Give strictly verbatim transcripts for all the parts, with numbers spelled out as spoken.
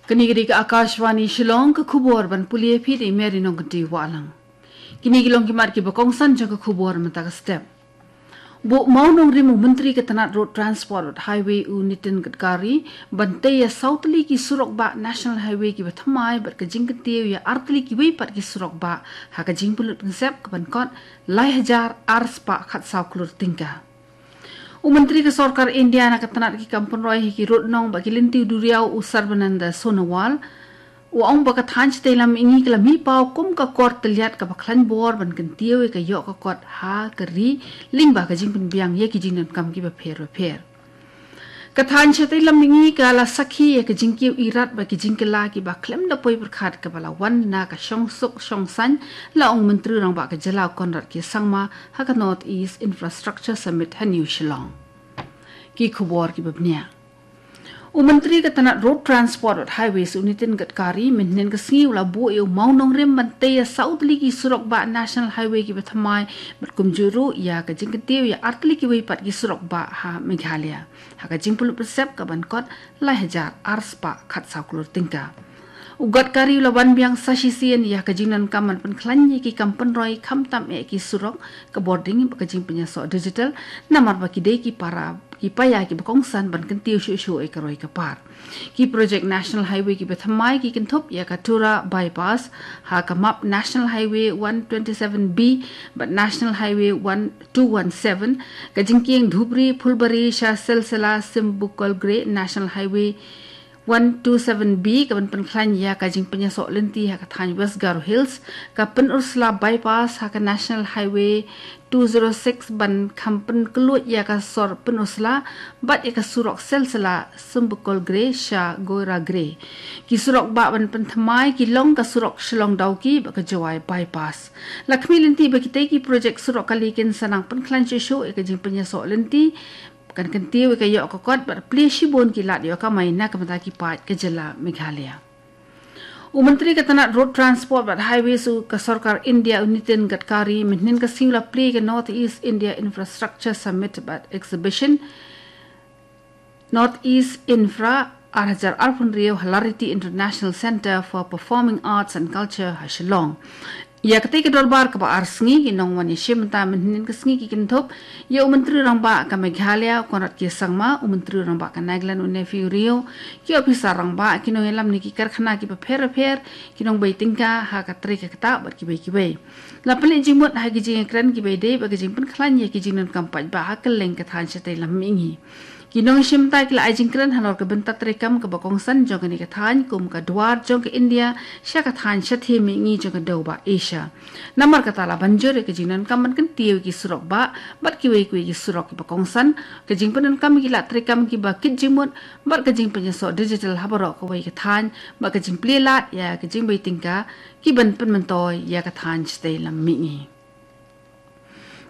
Kane ka dei ka Akashvani Shillong, ka khubor ban pule phi da i Mary Nongkynrih Wahlang. Kine ki long ki mat kiba kongsan jong ka khubor mynta ka step. Buh mawnongrim u Myntri ka tnat Road Transport bad Highway u Nitin Gadkari ban tei ïa saw tylli ki surok bah National Highway kiba thymmai bad ka jingkyntiew ïa ar tylli kiwei pat ki surok bah ha ka jingpynlut pynsep ka ban kot lai hajar ar spah khatsaw klur tyngka. U Myntri ka Sorkar India na ka tnat ki kam pynroi ha ki rud nong bad ki lynti duriaw u Sarbananda Sonowal u ong ba ka thaiñ shatei lam mihngi ka la mih paw kum ka kor tylliat kaba khlaiñ bor ban kyntiew ïa ka ïoh ka kot ha ka ri lyngba ka jingpynbiang ïa ki jingdonkam kiba pher bapher. Ka thaiñ shatei lam mihngi ka la sakhi ïa ka jingkiew irat bad ki jingkylla kiba khlem da poi pyrkhat kaba la wan na ka shongsuk shongsaiñ, la ong u Myntri Rangbah ka jylla u Conrad K Sangma ha ka North East Infrastructure Summit ha New Shillong. Ki khubor kiba bniah. U Myntri ka tnat Road Transport bad Highways u Nitin Gadkari mynhynnin ka sngi u la buh ïa u mawnongrim ban tei ïa saw tylli ki surok bah National Highway kiba thymmai bad kumjuh ruh ïa ka jingkyntiew ïa ar tylli kiwei pat ki surok bah ha Meghalaya ha ka jingpynlut pynsep ka ban kot lai hajar ar spah khatsaw klur tyngka. U Gadkari u la wan biang sa shisien ïa ka jingdonkam ban pynkhlaiñ ïa ki kam pynroi khamtam eh ki surok, ka bording bad ka jingpynïasoh digital, namar ba ki dei ki para ki paia kiba kongsan ban kyntiew shuh shuh eh ka roi ka par. Ki projek National Highway kiba thymmai ki kynthup ïa ka Tura Bypass ha ka map National Highway one twenty-seven B bad National Highway one two one seven, ka jingkieng Dhubri Phulbari sha Silsila Simbukol Gre National Highway one two seven B ka ban pynkhlaiñ ïa ka jingpynïasoh lynti ha ka thaiñ West Garo Hills, ka Pynursla Bypass ha ka National Highway two zero six ban kham pynkylluid ïa ka sor Pynursla bad ïa ka surok Silsila Simbukol Gre sha Goira Gre. Ki surok bah ban pynthymmai ki long ka surok Shillong Dawki bad ka Jowai Bypass. La khmih lynti ba kitei ki projek surok kali kin sa nang pynkhlaiñ shuh shuh ïa ka jingpynïasoh lynti kan kyntiew ïa ka ïoh ka kot bad plie shibun ki lad ïoh kamai na ka bynta ki paid ka jylla Meghalaya. U Myntri ka tnat Road Transport bad Highways u ka Sorkar India u Nitin Gadkari mynhynnin ka sngi u la plie ka North East India Infrastructure Summit bad Exhibition, North East Infra ar hajar arphew hynriew ha Lariti International Centre for Performing Arts and Culture ha Shillong. Ïa katei ka dorbar kaba ar sngi ki nongwan ïashim bynta mynhynnin ka sngi ki kynthup ïa u Myntri Rangbah ka Meghalaya u Conrad K Sangma, u Myntri Rangbah ka Nagaland u Neiphiu Rio, ki ophisar rangbah, ki nongïalam na ki karkhana kiba pher bapher, ki nongbei tyngka ha ka trei ka ktah bad kiwei kiwei. La pynleit jingmut ha ki jingïakren kiba ïadei bad ka jingpynkhlaiñ ïa ki jingdonkam paidbah ha kylleng ka thaiñ shatei lam mihngi. Ki nongïashim bynta ki la ai jingkren halor ka bynta treikam kaba kongsan jong kane ka thaiñ kum ka dwar jong ka India sha ka thaiñ shathie mihngi jong ka dewbah Asia. Namar kata la ban jur ïa ka jingdonkam ban kyntiew ïa ki surok bah bad kiwei kiwei ki surok kiba kongsan, ka jingpyndonkam ïa ki lad treikam kiba kit jingmut bad ka jingpynïasoh digital ha baroh kawei ka thaiñ bad ka jingplie lad ïa ka jingbei tyngka ki ban pynmyntoi ïa ka thaiñ shatei lam mihngi.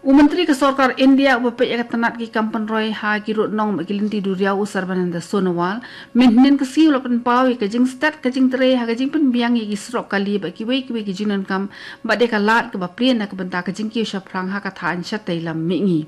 U Myntri ka Sorkar India uba peit ïa ka tnat ki kam pynroi ha ki rud nong bad ki lynti duriaw u Sarbananda Sonowal mynhynnin ka sngi u la pynpaw ïa ka jingstet ka jingtrei ha ka jingpynbiang ïa ki surok kali bad kiwei kiwei ki jingdonkam bad ïa ka lad kaba plie na ka bynta ka jingkiew shaphrang ha ka thaiñ shatei lam mihngi.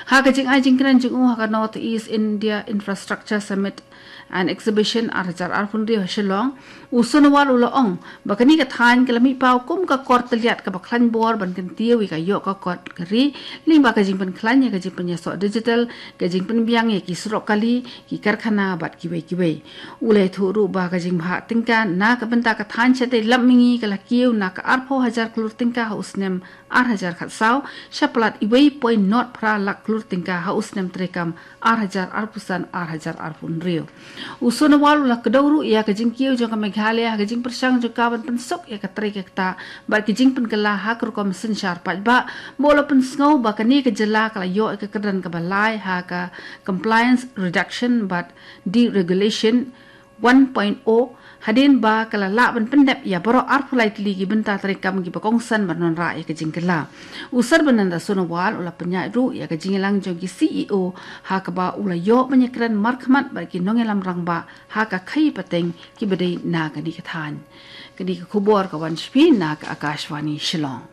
Ha ka jingai jingkren jong u ha ka North East India Infrastructure Summit and Exhibition ar hajar arphew hynriew ha Shillong, u Sonowal u la ong ba kane ka thaiñ ka la mih paw kum ka kor tylliat kaba khlaiñ bor ban kyntiew ïa ka ïoh ka kot ka ri lyngba ka jingpynkhlaiñ ïa ka jingpynïasoh digital, ka jingpynbiang ïa ki surok kali, ki karkhana bad kiwei kiwei. U la ïathuh ruh ba ka jingbhah tyngka na ka bynta ka thaiñ shatei lam mihngi ka la kiew na ka arphew hajar klur tyngka ha u snem ar hajar khatsaw sha palat iwei point not phra lak klur tyngka ha u snem treikam ar hajar arphew san ar hajar arphew hynriew. U Sonowal u la kdew ruh ïa ka jingkiew jong ka Meghalaya ha ka jingpyrshang jong ka ban pynsuk ïa ka trei ka ktah bad ka jingpynkylla ha ka rukom synshar paidbah, bad u la pynsngew ba kane ka jylla ka la ïoh ïa ka kyrdan kaba lai ha ka Compliance Reduction bad Deregulation one point oh, hadien ba ka la lah ban pyndep ïa baroh arphew lai tylli ki bynta treikam kiba kongsan ban wanrah ïa ka jingkylla. U Sarbananda Sonowal u la pynïaid ruh ïa ka jingïalang jong ki C E O ha kaba u la ïoh ban ïakren markhmat bad ki nongïalam rangbah ha ka khaïi pateng kiba dei na kane ka thaiñ. Kane ka khubor ka wan sha phi na ka Akashvani Shillong.